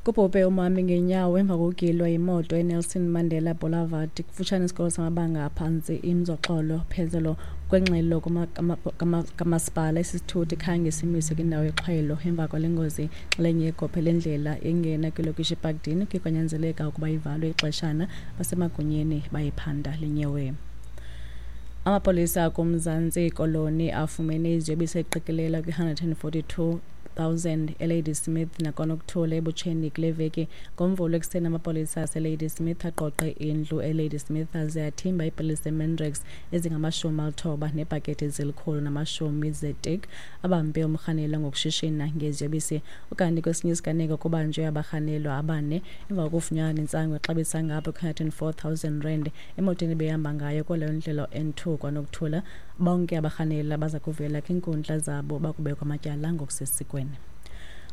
Kubhubhe umhambi ngenyawo emva kokugilwa yimoto eNelson Mandela Boulevard kufutshane nesikolo samabanga aphantsi iMzoxolo Phezelo. Kwengxelo kamasipala, esi sithuthi khange simiswe kwindawo yexhwayelo emva kwale ngozi. Inxalenye yegophe lendlela engena kwilokishi iParkdene kuye kwanyanzeleka ukuba ivalwe ixeshana, basemagunyeni bayiphanda le nyewe. Amapolisa akuMzantsi Koloni afumene iziyobisi eziqikelela kwi-142 000 eLadysmith nakwaNokuthula eButsheni kule veki. NgoMvulo ekuseni amapolisa aseLadysmith agqogqe indlu eLadysmith aze athimba iipilisi zeMandrax ezingama-90 neebhakethi ezili-110 zetik. Abambe umrhanelwa ngokushishina ngeziyobisi. Ukanti kwesinye isiganeko kubanjwe abarhanelwa abane emva kokufunyanwa nentsangu exabisa ngapha kwi-104 000 rand emotweni ebehamba ngayo kwaleyo ndlela N2 kwaNokuthula. Bonke abarhanelwa baza kuvela kwiinkundla zabo bakubekwa amatyala ngokusesikweni.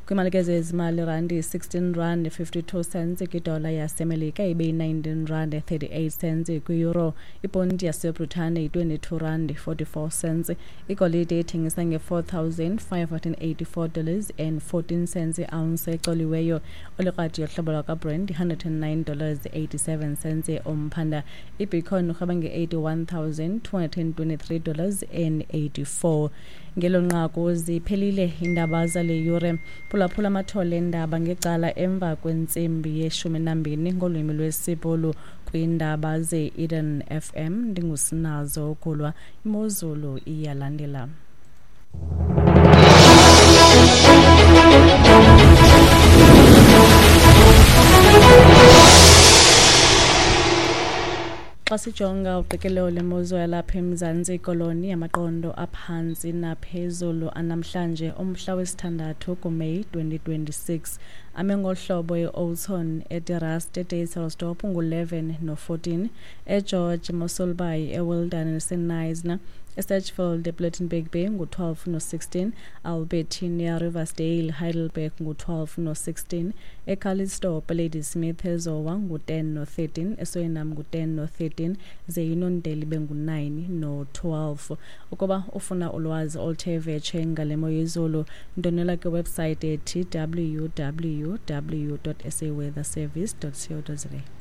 Kwimalike zezimali, irandi 16 rand 52 cents kwidola yaseMelika, ibe yi-19 rand 38 cents kwi-euro. Iponti yaseBritane yi-22 rand 44 cents. Igolide ithengisa nge-$4,584 dollars and 14 cents i-ounce ecoliweyo. Olikrati yohlobo lwakwaBrent $109 dollars 87 cents umphanda. IBitcoin urhweba nge-$81,223 dollars and 84. Ngelo nqaku ziphelile iindaba zale yure. Phulaphula amathole eendaba ngecala emva kwentsimbi ye-12 ngolwimi lwesiBhulu kwiindaba ze-Eden FM. Ndingusinazo Gulwa. Imozulu iyalandela. Xa sijonga uqikelelo lemozulu yalapha eMzantsi Koloni, amaqondo aphantsi naphezulu anamhlanje umhla wesithandathu kuMeyi 2026 ame ngohlobo: eOudtshoorn, eDe Rust, eDysselsdorp ngu-11 no-14, eGeorge, Mossel Bay, eWilderness, eKnysna, eSedgefield, ePlettenberg Bay ngu-12 no-16, Albertinia, Riversdale, Heidelberg ngu-12 no-16, eCalitzdorp, Ladysmith, eZowa ngu-10 no-13, eSuriname ngu-10 no-13, ze iNondeli bengu-9 no-12. Ukuba ufuna ulwazi oluthe vetshe ngale mo yezulu, ndwendwela kwiwebhusayithi ethi www.saweatherservice.co.za.